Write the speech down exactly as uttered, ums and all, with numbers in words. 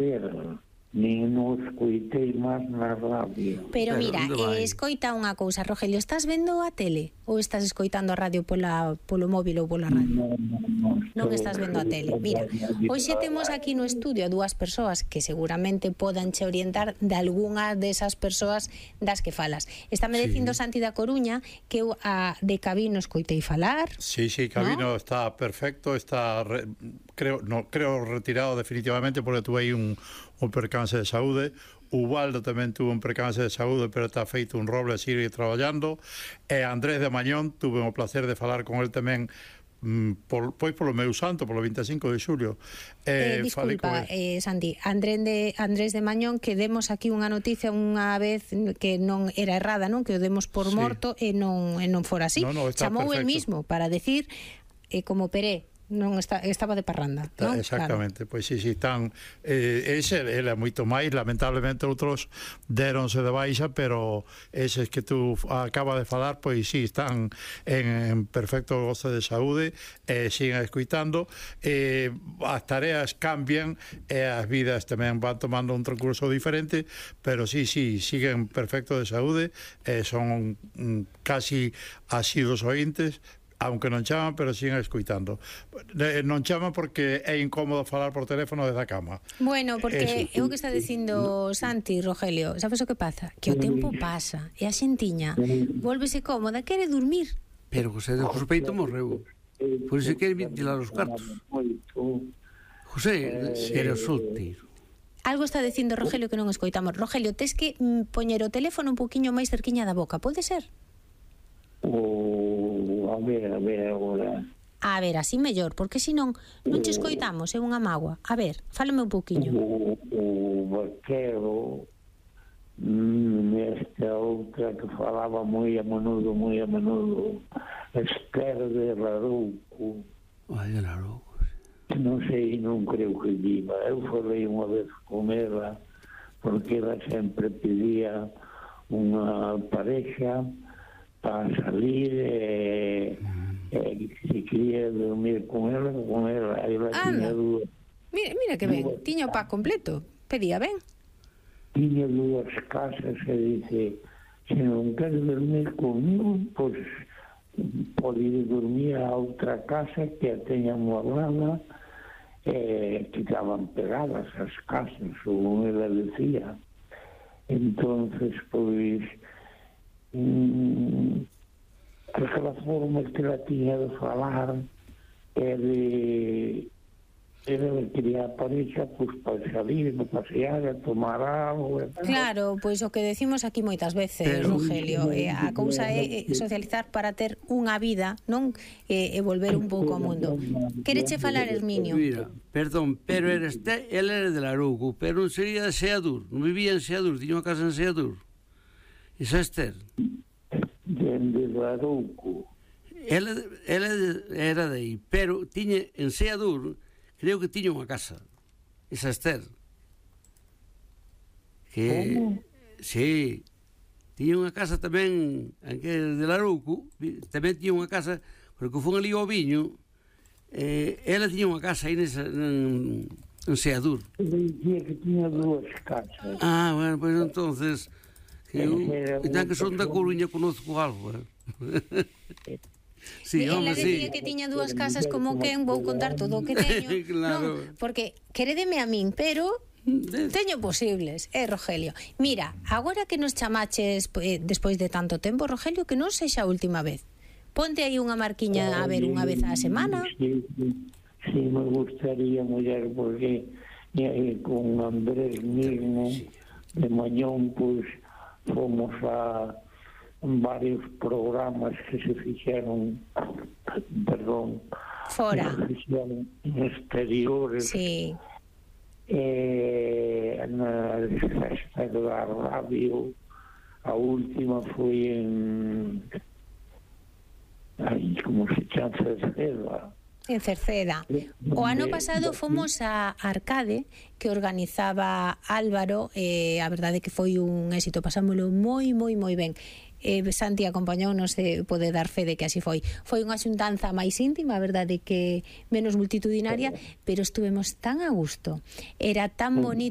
pero nin non escoitei máis na radio. Pero mira, eh, escoita unha cousa, Rogelio, estás vendo a tele ou estás escoitando a radio pola, polo móvil ou pola radio? Non, non, non, non estás vendo a tele. Mira, hoxe temos aquí no estudio a dúas persoas que seguramente podan che orientar de algunha desas persoas das que falas. Estáme sí. dicindo Santi da Coruña que eu a de Cabino escoitei falar. Sí, sí, Cabino, ¿no? Está perfecto, está re, creo, no, creo retirado definitivamente porque tuve aí un, un percance de saúde. Ubaldo tamén tuvo un percance de saúde, pero está feito un roble, sigue traballando. E Andrés de Mañón, tuve o placer de falar con el tamén por, pois polo meu santo, polo vinte e cinco de xulio. Eh, eh, disculpa, eh, Santi, Andrés de, Andrés de Mañón, que demos aquí unha noticia unha vez que non era errada, non? Que o demos por sí. morto e non, e non fora así. No, no, chamou el perfecto. mismo para decir, eh, como Peré, non está, estaba de parranda, non? Exactamente, claro. Pois si, si, tan eh, ese, ele é moito máis, lamentablemente outros deronse de baixa, pero eses que tú acaba de falar, pois si, están en, en perfecto goce de saúde, e eh, siguen escuitando, eh, as tareas cambian e as vidas tamén van tomando un transcurso diferente, pero si, si, siguen perfecto de saúde, e eh, son mm, casi asidos ointes, aunque non chaman, pero siguen escuitando. Non chaman porque é incómodo falar por teléfono desde a cama. Bueno, porque é o que está dicindo Santi, Rogelio, sabes o que pasa? Que o tempo pasa e a xentiña volvese cómoda, quere dormir. Pero José de Jospeito morreu, por iso quere ventilar os cartos. José era solteiro. Algo está dicindo Rogelio que non escoitamos. Rogelio, tes que poñer o teléfono un poquinho máis cerquiña da boca, pode ser? O, a ver, a ver agora. A ver, así mellor, porque senón non che escoitamos, é unha mágoa. A ver, fálame un pouquiño. O, o vaquero, nesta outra que falaba moi a menudo, moi a menudo, Esther de Larouco. Ai, de Larouco. Non sei, non creo que viva. Eu falei unha vez con ela, porque ela sempre pedía unha pareja para salir e, e se quería dormir con ela, con ela, ela tiña dúas. Mira, mira que ben, tiña o pack completo, pedía ben. Tiña dúas casas e dice, se non queres dormir comigo, pois pode ir dormir a outra casa que a teña moblada, e que estaban pegadas as casas, como ela decía. Entonces, pois, Mm, aquela forma que ela tiña de falar é de ela quería a pareja pues, para salir, para pasear, a tomar algo. Claro, pois o que decimos aquí moitas veces, pero, Rogelio, eh, a cousa é socializar para ter unha vida, non? E, e volver un pouco ao mundo. Quereche falar, Herminio? Mira, perdón, pero era este, ele era de Larouco, pero non sería de Seadur, non vivía en Seadur, tiña unha casa en Seadur. Esa Esther de Larouco. Ela, ela era de aí, pero tiña en Seadur, creo que tiña unha casa. Esa Esther que ¿cómo? Sí, tiña unha casa tamén que de Larouco, tamén tiña unha casa, porque foi ali ao viño, eh, ela tiña unha casa aí nesa, en, en Seadur. Dicía que tiña dúas casas. Ah, bueno, pois pues entonces que eu, então que son da Coruña, conozco algo, eh? Sí, ela decía sí. que tiña dúas casas como quen, vou contar todo o que teño. Claro. Non, porque querédeme a min, pero teño posibles, eh, Rogelio. Mira, agora que nos chamaches eh, despois de tanto tempo, Rogelio, que non sexa a última vez. Ponte aí unha marquiña a ver unha vez á semana. Sí, sí, sí, me gustaría muller, porque eh, con Andrés mismo de Mañón, pois pues, fomos a varios programas que se fixeron, perdón, fora, se fixeron en exteriores, sí. eh, na festa da radio, a última foi en aí, como se chama, Cerceda. En Cerceda. O ano pasado fomos a Arcade, que organizaba Álvaro, e eh, a verdade que foi un éxito, pasámoslo moi, moi, moi ben. Eh, Santi acompañounos e pode dar fe de que así foi. Foi unha xuntanza máis íntima, a verdade que menos multitudinaria, pero estuvemos tan a gusto. Era tan bonito